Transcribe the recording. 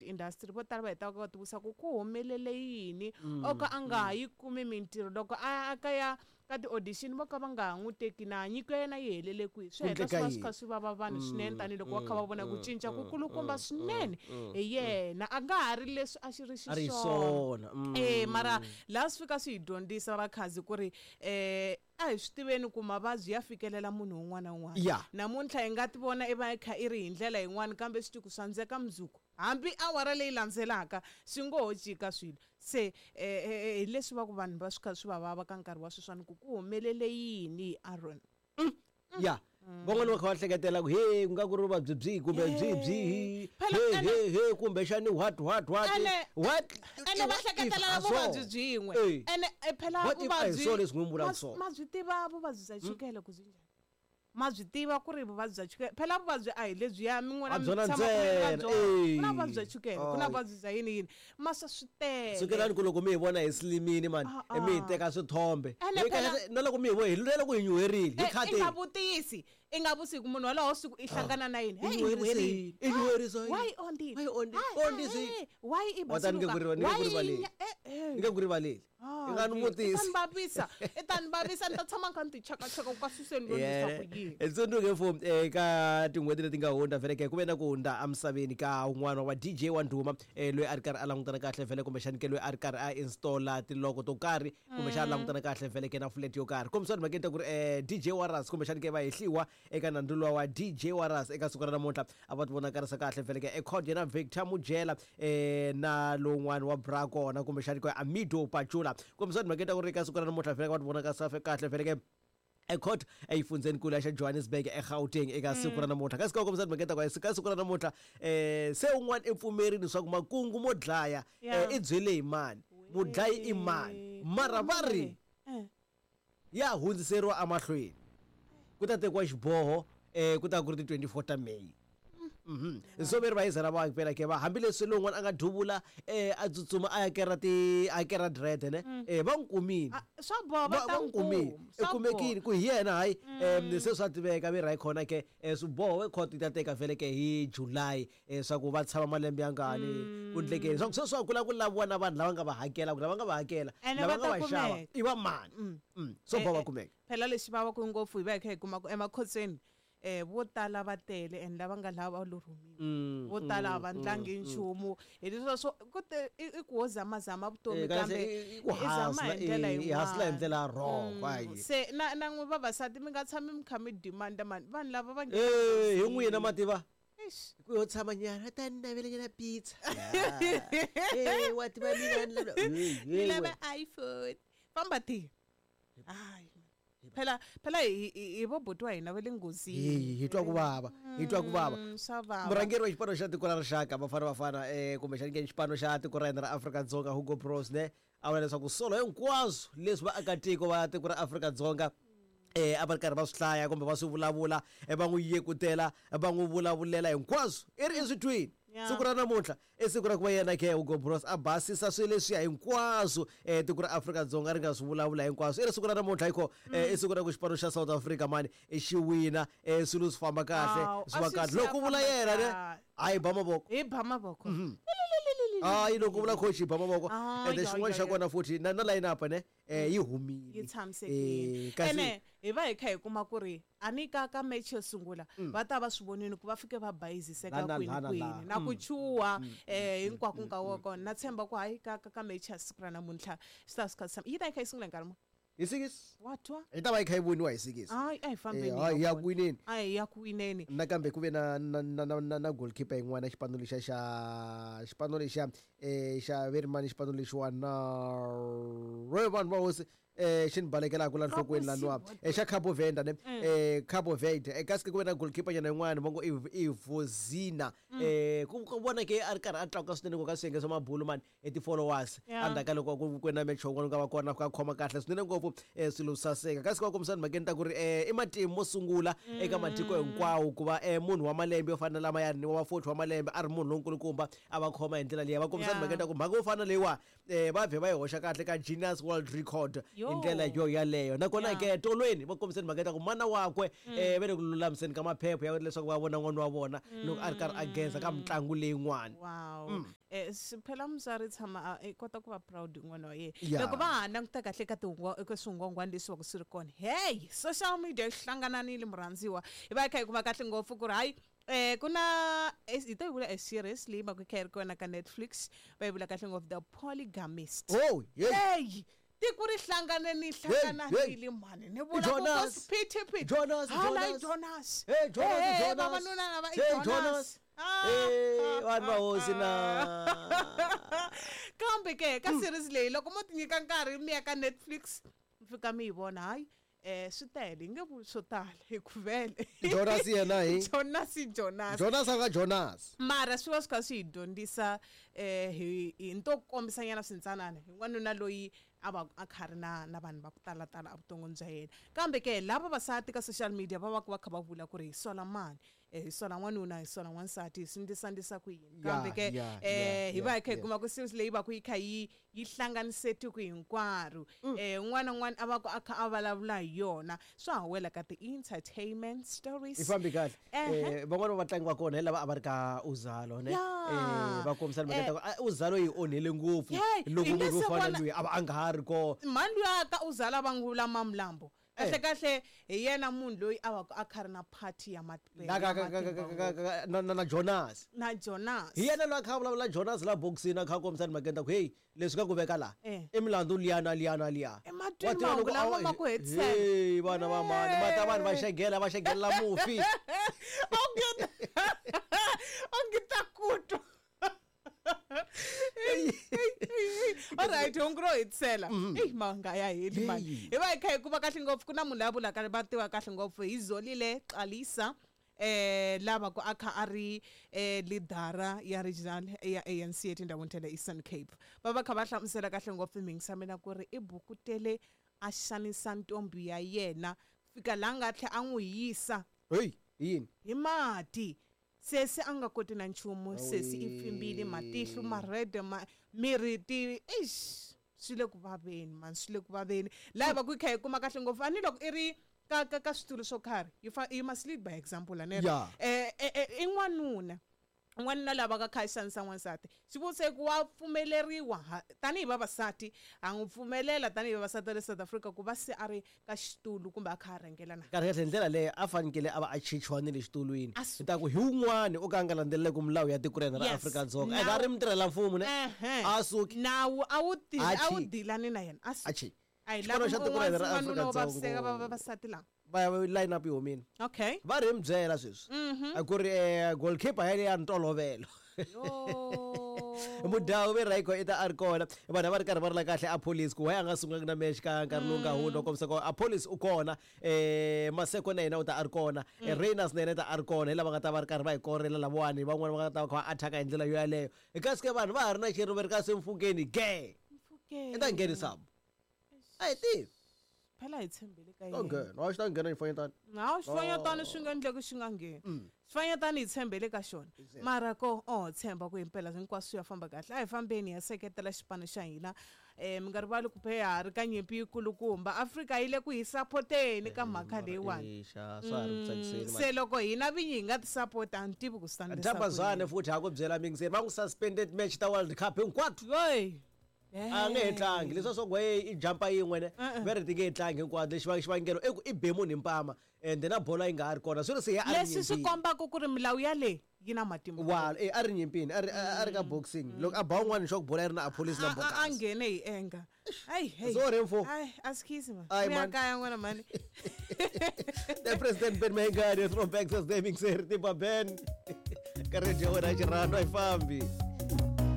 industry vo tala va hetaka va tivutisa ku ku humelele yini o ka a nga ha yi kumi mintirho loko a ya ka ya ka ti-audition vo ka va nga ha n'wi teki na nyiko ya yena yi helele kwihi swi heta swi va swi kha swi vava vanhu swinene tanihiloko va kha va vona ku cinca ku kulukumba swinene hi yena a nga ha ri leswi a xi ri xiswona e mara laha swi fika swi hi dyondzisa vakhazi ku ri um a hi swi tiveni ku mavabyi ya fikelela munhu un'wana na un'wana namuntlha hi nga ti vona i va i kha i ri hi ndlela yin'wana kambe swi tiku swa ndzeka mundzuku hambi awara leyi landzelaka swi ngo ho cika swilo Se hi leswi va ku vanhu va swi kha swi va vava ka nkarhi wa sweswiwani ku ku humelele yini hi Aaron. Ya van'wani va kha va hleketela ku he ku nga ku ri vuvabyi byihi kumbe byihi byihi Phela he ene- he he kumbexani what what what Ene- what ene va what if hleketelela a so? vuvabyi byin'we Eh. ene eh, phela What if a hi vuvabyi swona leswi n'wi vulaka ma- swona? ma byi tiva vuvabyi bya chukele ku byi njhani Ma byi tiva ku ri vuvabyi bya chukele phela vuvabyi a hi lebyiya mi n'wina A mi byona tshamaka mi ri na ntsena, byona. Ku na eh. vuvabyi bya chukele ku na Ay. vuvabyi bya yini yini ma swa swi tele Sukelani ku loko mi hi vona hi slimini mani Ah, ah. mi hi teka swithombe Ene Hi phela- kahle- na loko mi hi vona hi lwela ku hi nyuherile hi Eh, i nga khateni vutisi i nga vutisi ku munhu walowo siku i hlangana na yini I hey, i nyuherise nyuherile. yini? I nyuherisa yini? Why ondzile? Why ondzile? Hi, hi, Ondzise yini? hey, why i Wa ta ni nge basuluka? ku ni nge Why ku rivaleli. i nya- eh, eh. Ni nge ku rivaleli Ah, i nga ni i ta vutisi ni vavisa i ta ni vavisa ni ta tshama ni kha ni ti chakachaka ku ka suseni lo leswaku yini hi tsundzuke fo eka tin'hweti leti nga hundza vhele ke ku ve na ku hundza emisaveni ka un'wana wa DJ wa ndhuma loyi a ri karhi a langutana kahle vhele kumbexani ke loyi a ri karhi a installa tiloko to karhi kumbexana a langutana kahle vhele ke na flat yo karhi kombisani mhakeni ta ku ri DJ Warras kumbexani ke va hehliwa eka nandzu luwa wa DJ Warras eka siku ra namuntlha a va ti vonakarisa kahle vhele ke ecourt yena Victor Mujela na lowun'wana wa bra kona kumbexani ke Amido Pachula kombisani mhakeni ta ku ri eka siku ra namuntlha vhele va ti vonakarisa kahle vhele ke ecourt eyifundzeni-nkulu ya xa Johannesburg eGauteng eka siku ra namuntlha kasi ka kombisa timhaka ta ku ka siku ra namuntlha se un'wana i pfumerile leswaku makungu mo dlaya i byele hi mani mudlayi i mani mara va ri ya hundziseriwa emahlweni ku ta tekiwa xiboho ku ta ku ri ti 24 ta May so ve ri va yizela va phela ke va hambileswi lowun'wana a nga duvula a tsutsuma a ya kera ti a kera dread ne va n'wi kumile Ah, swa boha va va ta va n'wi n'wi kumile kuma, i swa kumekile ku hi yena hayi se swa tiveka ve ra hi khona ke swiboho court yi ta teka vhele ke hi July swa ku va tshama malembe ya ngani ku ndlekeni swa ku se swa kula ku laviwa na vanhu lava nga va hakela ku lava nga va hakela Ene lava va nga ta va xava kumeka. i va mani swo boha va kumeka Phela lexi vavaka ngopfu hi va hi kha hi kuma ku emakhotsweni um vo tala va tele and lava nga laha va lo rhumiwa vo tala a va ndlangi nchumu hi leswiya swo ku te i i ku ho zamazama vutomi Eh, kahle kambe i ku i zama hi hustler ndlela i hustler hi yin'wana ndlela ya wrong hayi se na na n'wi vavasati mi nga tshami mi kha mi demand mani vanhu lava va nghena eh hi n'wina mativa Eish. ku yo tshama nyana ta ni navela nyana pizza eh wa tiva mina ni lava Ni lava iPhone famba ti hayi phela phela hi hi hi vo buti wa hina va le nghozini hi hi twa ku vava hi twa ku vava Swa vava murhangeri wa xipano xa tiko ra rixaka Bafana Bafana kumbexani ke xipano xa tiko ra hina ra Afrika-Dzonga Hugo Broos ne a vula leswaku solo hinkwaswo leswi vaakatiko va tiko ra Afrika-Dzonga a va ri karhi va swi hlaya kumbe va swi vulavula va n'wi yekutela va n'wi vulavulela hinkwaswo i ri i swi twini siku ra namuntlha i siku ra ku va yena ke Hugo Broos a basisa swilo leswiya hinkwaswo tiko ra Afrika-Dzonga ri nga swi vulavula hinkwaswo i ri siku ra namuntlha hiko i siku ra ku xipano xa South Africa mani xi wina swilo swi famba kahle Hawu, swi va a swi kahle swi ya loko ku vula famba yena ne kahle. a hi ba mavoko hi ba mavoko hayi loko vula coach hi ba mavoko Ah, ende ya, xin'wana ya, xa ya. kona futhi na na line up ne yi humile yi tshamisekile kasi ene hi va hi kha hi kuma ku ri a ni ka ka match yo sungula va ta va swi vonile ku va fike va bayiziseka La, na, kwini la, na, kwini la. na ku chuha hinkwako nkarhi wa kona na tshemba ku hayi ka ka ka match ya siku ra namuntlha swi ta swi kha swi tshama yi ta yi kha yi sungula hi nkarhi muni hi sikisi wa twa yi ta va yi kha yi voniwa hi sikisi hayi a hi fambeni hayi hi ya ya ku wineni a hi ya ku wineni nakambe ku ve na na na na na, na goalkeeper yin'wana xipano lexiya xa xipano lexiya xa ve ri mani xipano lexiwani na ro vanhu va hosi xi ni balekelaka la nhlokweni laniwa xa Cabo Verde ne Cabo Verde kasi ku ve na goalkeeper nyana yin'wana va ngo i i Vozina ku ku vona ke a ri karhi a tlakuka swinene ku ka swiyenge swa mabulu mani i ti-followers Yeah. endzhaku ka loko ku ku na match wun'wana ku nga va kona ka khoma kahle swinene ngopfu swilo swi saseka kasi va kombisana mhakeni ta ku ri i matimu mo sungula eka matiko hinkwawo ku va munhu wa malembe yo fana na lamayani wa 40 wa malembe a ri munhu lonkulukumba a va khoma hi ndlela liya va kombisana Yeah. mhakeni ta ku mhaka yo fana na leyiwa va vhe va yi hoxa kahle ka Guinness World Record Yo. Hi ndlela yo yaleyo. Nakona ke tolweni va kombiseni mhaka ya ku mana wakwe va le ku lulamiseni ka maphepha ya leswaku va vona n'wana wa vona loko a ri karhi a geza ka mitlangu leyin'wana. Wow. Phela mutswari tshama a kota ku va proud hi n'wana wa yena. Loko va ha languta kahle ka eka swingwangwani leswi va ku swi ri kona, hey, social media yi hlangananile murhandziwa. Hi va hi kha hi kuma kahle ngopfu ku ri hayi ku na hi to yi vula a series leyi va ku yi kha yi ri kona ka Netflix, va yi vula kahle ngopfu The Polygamist. Oh, hey. Hey, tiko ri hlanganeni hlangananile mhani ni vula ku ku phithiphithi. Jonas, Hala i Jonas. Jonas. Hey, Jonas, Hey, Jonas. vavanuna lava i Hey, Jonas. Jonas. Hey, vanhu va hosi na. Kambe ke ka series leyi loko mo ti nyika nkarhi mi ya ka Netflix mi fika mi yi vona, hayi swi tele, hi nge vuli swo tala hi ku vele. Jonas yena hi. Jonas i Jonas. Jonas a nga Jonas. Mara swi va swi kha swi hi dyondzisa hi nto kombisanyana swintsanana hi n'wanuna loyi a va a kha ri na vanhu va ku talatala evuton'wini bya yena. Kambe ke lava vavasati ka social media va va va kha va vula ku ri hi sola mani, hi sola n'wanuna, hi sola n'wansati, hi swi ndlisandlisa ku yini. Kambe ke hi va hi kha hi kuma ku series leyi va ku yi kha yi hlanganise tiko hinkwaro. Un'wana na un'wana a va ku a kha a vulavula hi yona. Swa ha wela ka ti-entertainment stories. Yi fambi kahle. Van'wani va vatlangi va kona hi lava a va ri ka Uzalo, ne? Va kombisa mhaka ta ku Uzalo yi onhile ngopfu loko Hi munhu nga wo se fana vona loyi a va a nga ha ri kona. Mhani luya ka Uzalo va n'wi vula Mamlambo. Kahle kahle hi yena munhu loyi a va ku a kha ri na party ya Na ya matimba ngopfu. na Jonas. Na Jonas. Hi yena loyi a kha a vulavula Jonas la boxini a kha a kombisa mhaka ta ku hey, leswi ka ku veka laha. I milandzu liya na liya na liya. I matwini mahungu lama ma ku hetisela. Hey, vana va mani, mata vanhu va xegela, va xegelela mufi. Onge ta ku twa. All right, hungu ro hetisela. Eyi, ma nga ya heli mani. Hi va hi kha hi kuma kahle ngopfu, ku na munhu loyi a vulaka va tiva kahle ngopfu hi Zolile Xalisa, lava ku a kha a ri leadera ya regional ya ANC etindhawini ta le Eastern Cape. Va va kha va hlamusela kahle ngopfu mhingisa mina ku ri i bukutele a xanisa ntombi ya yena fika laha nga tlhela a n'wi yisa. Hey, hi yini? Hi mati. Sesi a nga koti na nchumu, sesi i pfimbile matihlo ma red ma miri ti eish, swi le ku vaveni man, swi le ku vaveni. Laha va ku yi kha yi kuma kahle ngopfu, a ni loko i ri ka switulu swo karhi, you must lead by example, ane? I n'wanuna. N'wanuna lava ka kha xanisa n'wansati. Xivutiso i ku wa pfumeleriwa tanihi vavasati, ha n'wi pfumelela tanihi vavasati va le South Africa ku va se a ri ka xitulu kumbe a kha a rhangela na? Kahle kahle hi ndlela leyi a fanekele a va a chichiwa ni le xitulwini. A su- Hi ta ku hi wun'wani o ka a nga landzeleleki milawu ya tiko ra hina ra Afrika-Dzonga. A nga ri mutirhela mfumo ne? A suki. Nawu a wu A a wu chi. dilani na yena. A suki. A chi. A hi Xipano lavi xa tiko ra hina ra n'wanuna wo Afrika-Dzonga. vaviseka vavasati lava. Va ya line up yi humile. Va ri mi byela sweswi. A ku ri goalkeeper ya le ya ntolovelo. Mudhawu ve Rayco i ta a ri kona. Vanhu a va ri karhi va rila kahle a police ku why a nga sungulanga na match ka nkarhi lowu nga hundza, kombisa ku a police u kona. Maseko na yena u ta a ri kona. Rayners na yena u ta a ri kona. Hi lava nga ta va ri karhi va hi korela lavawani, van'wani va nga ta va kha va attack hi ndlela yo yaleyo. Kasi ke vanhu va ha ri na xirilo va ri kasi Mfukeni ge. Mfukeni. I ta nghenisa. A hi tivi. Phela hi tshembele ka Ta yena. nghena. Hayi, xi ta nghena xifanyetana. Hawu, xifanyetana swi nga endleki xi nga ngheni. Xifanyetana hi tshembele ka xona. Mara ko, oh, tshemba ku himpela hinkwaswo swi ya famba kahle. A hi fambeni hi ya seketela xipano xa hina. Mi nga rivali ku phe ha ri ka nyimpi yikulukumba. Afrika yi le ku hi sapoteni ka mhaka leyiwani. Eixa, swa ha ri ku tsakiseni, man. Se loko hina vinyi hi nga ti sapota, a ni tivi ku swi ta endlisa Thamba ku Zwane yini. futhi ha ku byela mingiseri, va n'wi suspended match ta World Cup hinkwato. Voyi. A nge he tlangi. Leswi swa ku i jumpa yin'we ne? Va ri ti nge he tlangi hinkwato. Lexi xivangelo i ku i be munhu hi mpama, and na bolo yi nga ha ri kona. Swi ri se ya a ri Leswi swi nyimpini. kombaka ku ri milawu ya le yi na matimba. Wa, a ri nyimpini, a ri ka boxing. Loko a ba un'wana swa ku bolo yi ri na a police na A bokasi. nghene hi enga. Ai, hey. Sorry, mfo. Ai, askies man. Ai, Uya man. kaya n'wana mani. The President Ben Mayengani, throwback Thursday, Mixer, Timba Ben. Ka radio ya wena ya xirhandwa, yi fambi.